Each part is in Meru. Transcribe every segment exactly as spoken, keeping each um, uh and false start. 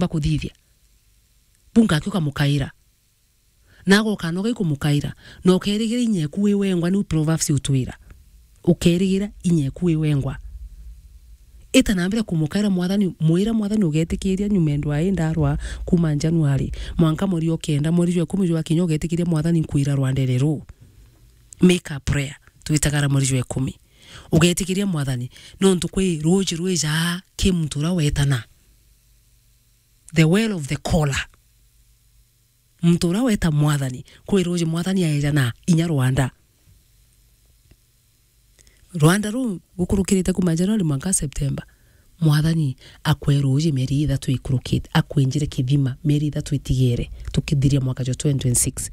bakuthithia. Bunga aki ukamukaira. Na agoka noga ikumukaira. Na ukerigira inya eku wi wengwa, niu Proverbs utwira. Ukerigira inya eku wi wengwa. Ita na mbere kumukaira Mwathani, mwira Mwathani ugetikiria nyuma ndwa indarwa kuma January. Mwanka mweri o kenda, mweri jwa ikumi jwakinya ugetikiria Mwathani nkwira rwandere ruu. Make a prayer. Twitagara mweri jwa ikumi. Ugetikiria Mwathani, nontu kwi ruuji rwijaa ki muntu uria wetana. The well of the caller. Muntu uria weta Mwathani, kwi ruuji Mwathani aejana inya rwanda. Rwanda ruu gukurukirite kuma January mwanka September. Mwathani akwe ruuji mieri ithatu ikurukite, akwenjire kithima mieri ithatu itigere, tukithiria mwaka jwa twenty twenty-six.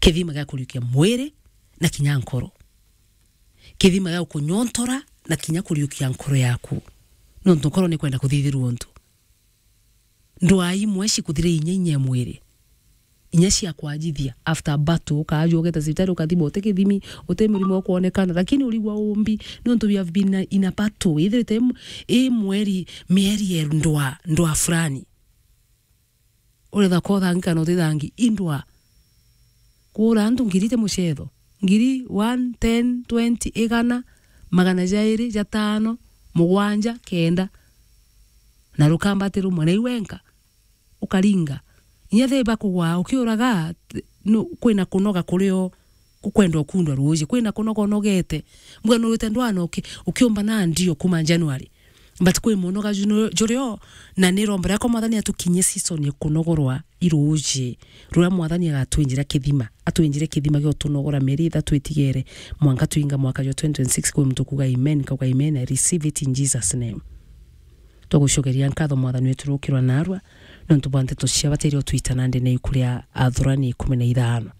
Kithima gia kuriukia mwiri na kinya nkoro. Kithima gia gukunyontora na kinya kuriukia nkoro yaku. Nontu nkoro ni kwenda kuthithirua untu. Ndwaa imwe cikuthire inya inya ya mwiri. Inya cia kwajithia. After battle, ukaajua ugeta cibitari, ukathima, uti kithimi, uti murimo ukwonekana. Lakini urigwa umbi, nontu we have been in a battle. Ithirite im-, i mweri, mieri ya ndwaa, ndwaa fulani. Uretha kothangi kana utithangi, indwa. Kuura antu ngiri ti mucetho. Ngiri, one, ten, twenty, igana, magana jairi, jatano, mugwanja, kenda. Na rukambati rumwe, na iu wenka, ukaringa. Inya thi bakugwaa, ukiuraga, th-, nu-, kwina kunoga kurio. Kukwenda ukundwa ruuji, kwina kunoga unogete. Mbuga nurite ndwana uki-, ukiumba na ndio kuma January. But kwi munoga ju-, jurio, na ni rombo riakwa Mwathani atukinyie season ya kunogorwa i ruuji. Ruria Mwathani agatwinjira kithima, atwinjire kithima gia utunogora mieri ithatu itigere, mwanka twinga mwaka jwa twenty twenty-six, kwi muntu kuga amen, kauga amen, I receive it in Jesus' name. Twagucokeria nkatho Mwathani wetu rukirwa narua, nontu bwa nteto cia bata iria utwita nandi na iku ria Athurani ikumi na ithano.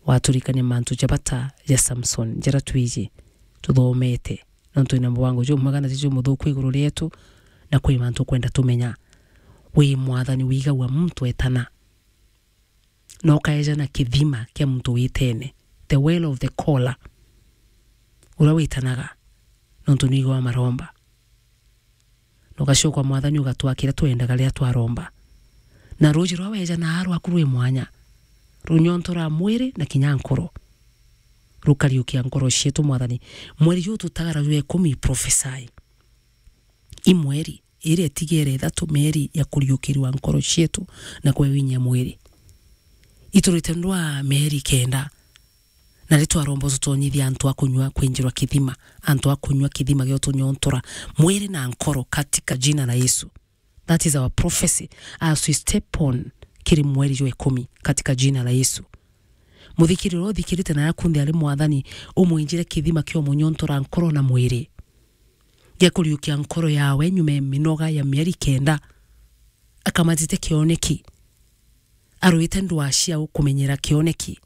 Waturikania mantu ja bata ja Samson, jaria twiji, tuthomete. Nontu wina mubango jumwega na ti jumuthuku iguru rietu, na kwi mantu ukwenda tumenya. Wi Mwathani wigagua muntu etana. Na ukaejana kithima kia muntu witene. The well of the caller. Uria witanaga. Nontu nwigagua maromba. Na ugacoka Mwathani ugatwaa kiria twendaga riria twaromba. Na ruuji rwa weja na rwaku rwi mwanya, runyontora mwiri na kinya nkoro. Rukariukia nkoro cietu, Mwathani. Mweri juu tutagara jwa ikumi, prophesy. I mweri, iria itigere ithatu, mieri ya kuriukirua nkoro cietu na kwewinyia mwiri. Iturite ndwaa mieri kenda. Na ri twaromba ututonyithie antu a kunyua kwinjirwa kithima, antu a kunyua kithima gia utunyontora mwiri na nkoro katika jina la Yesu. That is our prophecy as we step on kiri mweri jwa ikumi katika jina la Yesu. Muthikiri uria uthikirite na yakunthe ari Mwathani, umwinjire kithima kia umunyontora nkoro na mwiri. Gia kuriukia nkoro yawe nyuma ya minoga ya mieri kenda. Akamatite kioneki. Arwite ndwaa cia gukumenyera kioneki.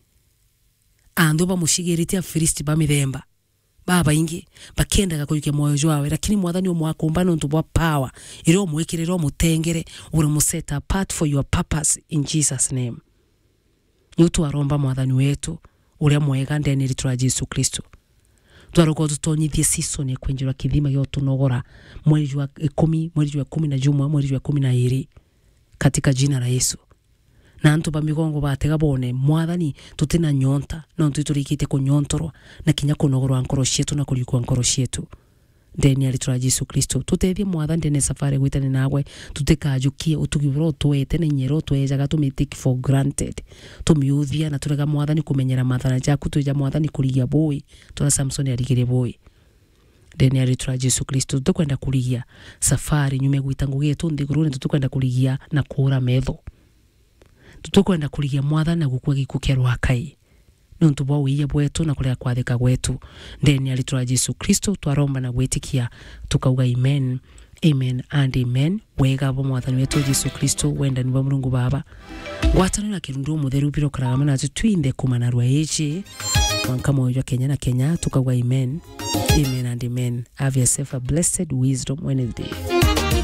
Anthu bamucigirite Afilisti ba mithemba babaingi, bakiendaga kujukia mwoyo jwawe, lakini Mwathani umwakumba nontu bwa power iria umwikirire, umutengere, uri mu set apart for your purpose in Jesus' name. Niu twaromba Mwathani wetu uria mwega ndene ya ritwa ria Jesu Kristo. Twaroka ututonyithie season ya kwinjirwa kithima gia utunogora, mweri jwa ikumi, mweri jwa ikumi na jumwe, mweri jwa ikumi na iri, katika jina la Yesu. Na antu ba migongo batega bone, Mwathani, tutina nyonta, nontu iturikite kunyontorwa, na kinya kunogorwa nkoro cietu na kuriukua nkoro cietu. Ndene ya ritwa ria Jesu Kristo, tutethie Mwathani ndene ya safari gwitania nagwe, tutikajukie utugi buria utwete na inya iria utwejaga, tumi take for granted. Tumiuthia na turega Mwathani kumenyera mathana jaku, twija Mwathani kurigia bui, turia Samson arigirie bui. Ndene ya ritwa ria Jesu Kristo, tutikwenda kurigia safari nyuma ya gwita ngugi yetu nthigurune, tutikwenda kurigia na kuura metho. Tutikwenda kurigia Mwathani na gukua gikuu kia rwakai. Nontu bwa wiia bwetu na kurega kwathika gwetu. Ndene ya ritwa ria Jesu Kristo, twaromba na gwitikia, tukauga amen. Amen and amen. Wega bwa Mwathani wetu Jesu Kristo, wendani bwa Murungu Baba, ngwataniro na kirundu umutheru birokaraga mwana wetu twinthe kumanarua iji. Mwanka mwoyo jwa Kenya na Kenya, tukauga amen. Amen and amen. Have yourself a blessed Wisdom Wednesday.